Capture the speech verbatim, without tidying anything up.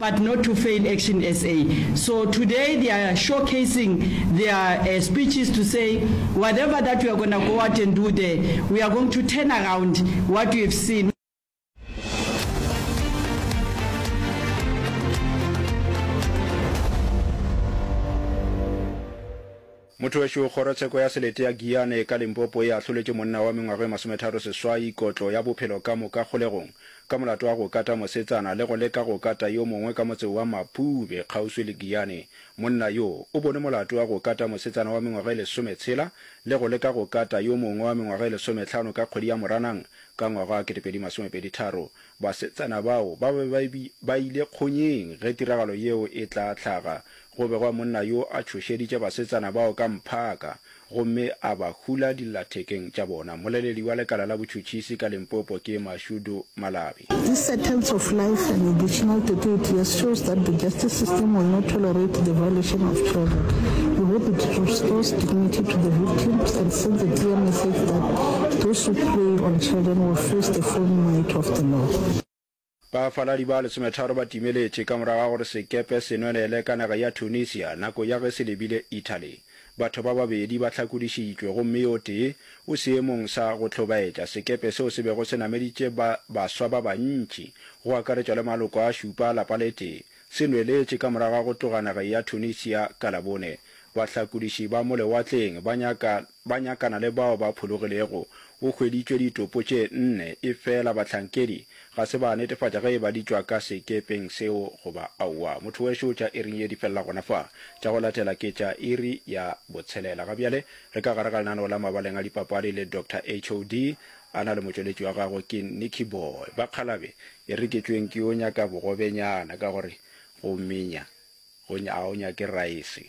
but not to fail Action S A. So today they are showcasing their, uh, speeches to say whatever that we are gonna go out and do there, we are going to turn around what we have seen. Motho wešo, Kgorotsheko ya Selete ya Giyane ka Limpopo e ahloletše monna wa mengwaga e masometharo seswai kotlo ya bophelo ka moka kgolegong ka molato wa go kata mosetsana le go leka go kata yo mongwe ka motse wa Mapube kgauswi le Giyane. Monna yo o bonwe molato wa go kata mosetsana wa mengwaga e lesometshela le go leka go kata yo mongwe wa mengwaga e lesomehlano ka kgwedi ya Moranang ka ngwaga wa ketepedi masomepedi tharo. Basetsana bao ba be ba ile kgonyeng ge tiragalo yeo e tla hlaga. Go begwa monna yo a tšhošeditše basetsana bao ka mphaka gomme a ba hula dillathekeng tša bona. Mmoleledi wa lekala la botšhotšhisi ka Limpopo ke Mashudu Malabi. This sentence of life and additional thirty-eight years shows that the justice system will not tolerate the violation of children. We hope it restores dignity to the victims and sends a clear message that those who prey on children will face the full might of the law. Bafaladi ba lesometharo ba timeletše ka morago ga gore sekepe se nwelele ka naga ya Tunisia nako ya ge se lebile Italy. Batho ba babedi ba hlakodišitšwe gomme yo tee o seemong sa go hlobaetša. Sekepe seo se bego se nameditše ba baswa ba bantši, go akaretšwa le maloko a šupa a lapa le tee, se nweletše ka morago ga go tloga nageng ya Tunisia ka Labone. Bahlakodiši ba mo lewatleng ba nyaka ba nyakana le bao ba phologilego. Go hweditšwe ditopo tše nne, efela bahlankedi ga se ba netefatša ge e ba di tšwa ka sekepeng seo goba aowa. Motho wešo, tša iring ye di felela gona fa. Tša go latela ke tša iri ya botshelela. Ga bjale re ka gare ga lenaneo la mabaleng a dipapadi le Doctor H O D a na le motšweletši wa gagwe ke Nicky Boy. Bakgalabe, e re ke tšweng ke yo nyaka bogobenyana ka gore go menya go a o nyake raese.